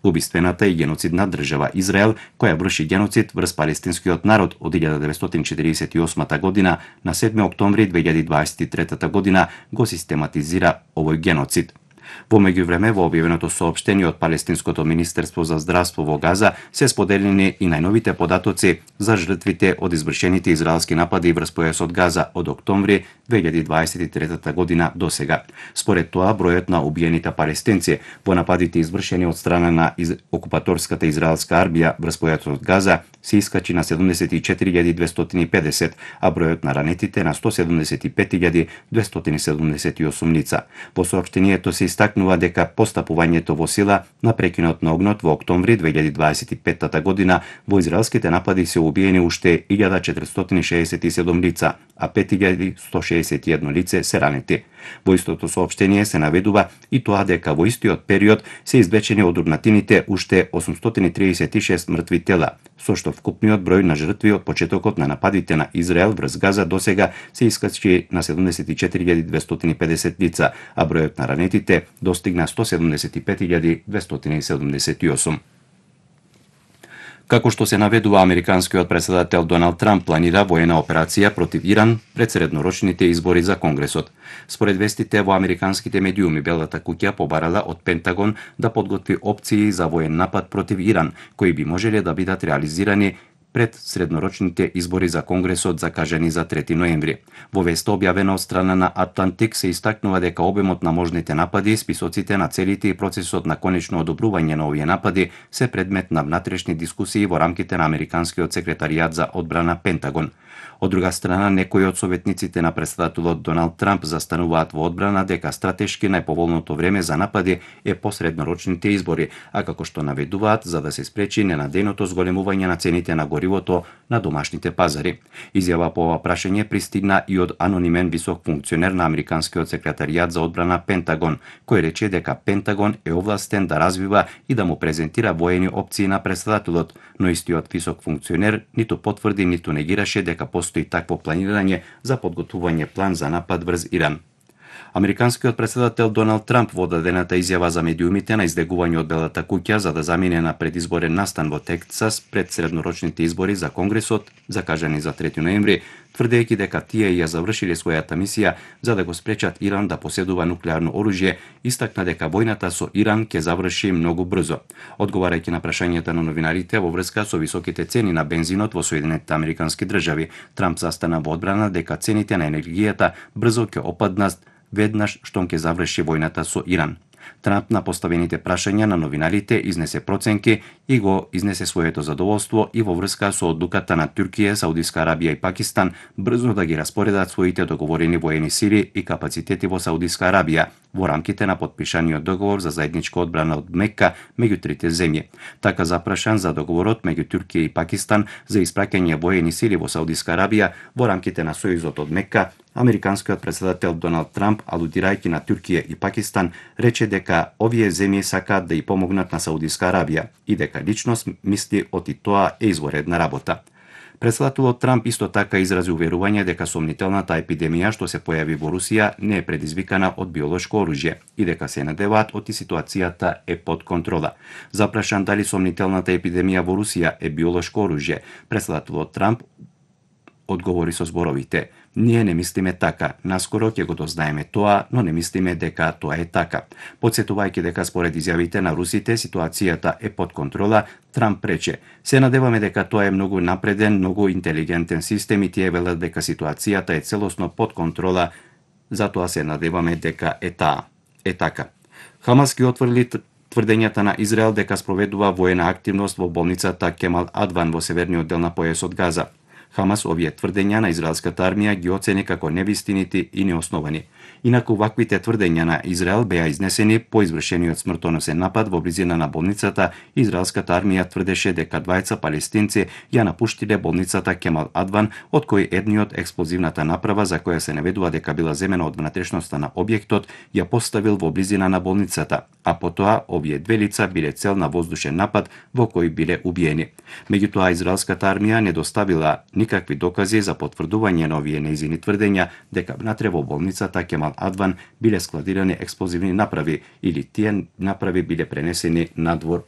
убиствената и геноцидна држава Израел, која врши геноцид врз палестинскиот народ од 1948 година на 7 октомври 2023 година го систематизира овој геноцид. Во меѓувреме, во објавеното соопштение од Палестинското министерство за здравство во Газа се споделени и најновите податоци за жртвите од извршените израелски напади врз појасот Газа од октомври 2023 година до сега. Според тоа, бројот на убиените палестинци во нападите извршени од страна на окупаторската израелска армија врз појасот Газа се искачи на 74.250, а бројот на ранетите на 175.278 лица. Во соопштението се истакнува дека постапувањето во сила на прекинот на огнот во октомври 2025 година во израелските напади се убиени уште 1467 лица, а 5161 лице се ранети. Во истото соопштение се наведува и тоа дека во истиот период се извлечени од урнатините уште 836 мртви тела, со што вкупниот број на жртви од почетокот на нападите на Израел врз Газа досега се искачи на 74.250 лица, а бројот на ранетите достигна 175.278. Како што се наведува, американскиот претседател Доналд Трамп планира воена операција против Иран пред среднорочните избори за Конгресот. Според вестите во американските медиуми, Белата куќа побарала од Пентагон да подготви опции за воен напад против Иран, кои би можеле да бидат реализирани пред среднорочните избори за Конгресот закажани за 3 ноември. Во веста објавена од страна на Атлантик се истакнува дека обемот на можните напади, списоците на целите и процесот на конечно одобрување на овие напади се предмет на внатрешни дискусии во рамките на американскиот секретаријат за одбрана Пентагон. Од друга страна, некои од советниците на претседателот Доналд Трамп застануваат во одбрана дека стратешки најповолното време за напади е посреднорочните избори, а како што наведуваат за да се спречи ненадејното зголемување на цените на горивото на домашните пазари. Изјава по ова прашање пристигна и од анонимен висок функционер на американскиот секретаријат за одбрана Пентагон, кој рече дека Пентагон е овластен да развива и да му презентира воени опции на претседателот, но истиот висок функционер ниту потврди ниту негираше дека постои такво планирање за подготвување план за напад врз Иран. Американскиот претседател Доналд Трамп во дадената изјава за медиумите на излегување од Белата куќа за да замине на предизборен настан во Тексас пред среднорочните избори за Конгресот, закажани за 3 ноември, тврдејќи дека тие ја завршиле својата мисија за да го спречат Иран да поседува нуклеарно оружје, истакна дека војната со Иран ќе заврши многу брзо. Одговарајќи на прашањата на новинарите во врска со високите цени на бензинот во Соединетите Американски држави, Трамп застана во одбрана дека цените на енергијата брзо ќе опаднат веднаш штом ќе заврши војната со Иран. Трамп на поставените прашања на новинарите изнесе проценки и го изнесе своето задоволство и во врска со одлуката на Туркија, Саудиска Арабија и Пакистан брзо да ги распоредат своите договорени воени сили и капацитети во Саудиска Арабија во рамките на подпишаниот договор за заедничка одбрана од Мека меѓу трите земји. Така запрашан за договорот меѓу Туркија и Пакистан за испраќање воени сили во Саудиска Арабија во рамките на сојузот од Мека, американскиот претседател Доналд Трамп, алудирајќи на Туркија и Пакистан, рече дека овие земји сакаат да ја помогнат на Саудиска Арабија и дека лично мисли оти тоа е изворедна работа. Претседателот Трамп исто така изрази уверување дека сомнителната епидемија што се појави во Русија не е предизвикана од биолошко оружје и дека се надеваат оти ситуацијата е под контрола. Запрашан дали сомнителната епидемија во Русија е биолошко оружје, претседателот Трамп одговори со зборовите: "Ние не мислиме така, наскоро ќе го дознаеме тоа, но не мислиме дека тоа е така." Потсетувајќи дека според изјавите на русите ситуацијата е под контрола, Трамп рече: "Се надеваме дека тоа е многу напреден, многу интелигентен систем и тие велат дека ситуацијата е целосно под контрола, затоа се надеваме дека е така." Хамас ги отврли тврдењата на Израел дека спроведува воена активност во болницата Кемал Адван во северниот дел на појасот Газа. Хамас овие тврдења на израелската армија ги оцени како невистинити и неосновани. Инаку ваквите тврдења на Израел беа изнесени по извршениот смртоносен напад во близина на болницата. Израелската армија тврдеше дека двајца палестинци ја напуштиле болницата Кемал Адван, од кој едниот експлозивната направа за која се наведува дека била земена од внатрешноста на објектот ја поставил во близина на болницата, а потоа овие две лица биле цел на воздушен напад во кој биле убиени. Меѓутоа израелската армија не доставила никакви докази за потврдување на овие нејзини тврдења дека внатре во болницата Кемал Адван биле складирани експлозивни направи или тие направи биле пренесени надвор